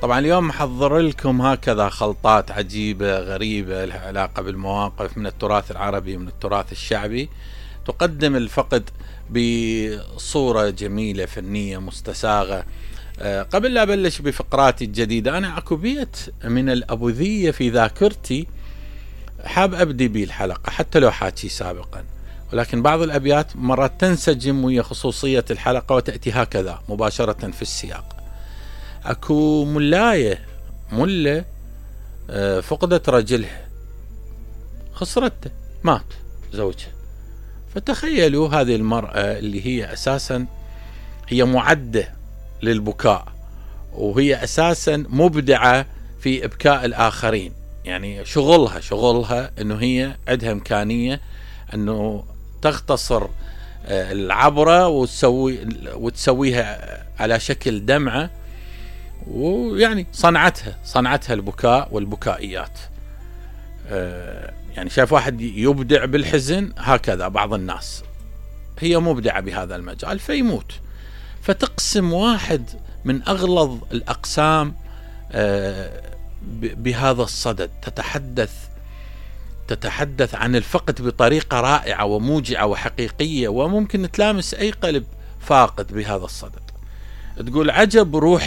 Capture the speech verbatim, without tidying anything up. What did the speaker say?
طبعا اليوم محضر لكم هكذا خلطات عجيبة غريبة لها علاقة بالمواقف من التراث العربي من التراث الشعبي، تقدم الفقد بصورة جميلة فنية مستساغة. قبل لا أبلش بفقراتي الجديدة، أنا اكو بيت من الأبوذية في ذاكرتي حاب أبدي به الحلقة حتى لو حاكي سابقا، ولكن بعض الأبيات مرات تنسجم ويا خصوصية الحلقة وتأتي هكذا مباشرة في السياق. اكو ملاية ملة فقدت رجلها، خسرته، مات زوجها. فتخيلوا هذه المرأة اللي هي أساسا هي معدة للبكاء، وهي أساسا مبدعة في إبكاء الآخرين، يعني شغلها شغلها أنه هي عندها إمكانية أنه تختصر العبرة وتسوي وتسويها على شكل دمعة، ويعني صنعتها صنعتها البكاء والبكائيات. يعني شايف واحد يبدع بالحزن، هكذا بعض الناس هي مبدعة بهذا المجال فيموت. فتقسم واحد من أغلظ الأقسام بهذا الصدد، تتحدث تتحدث عن الفقد بطريقة رائعة وموجعة وحقيقية، وممكن تلامس أي قلب فاقد بهذا الصدد. تقول: عجب روح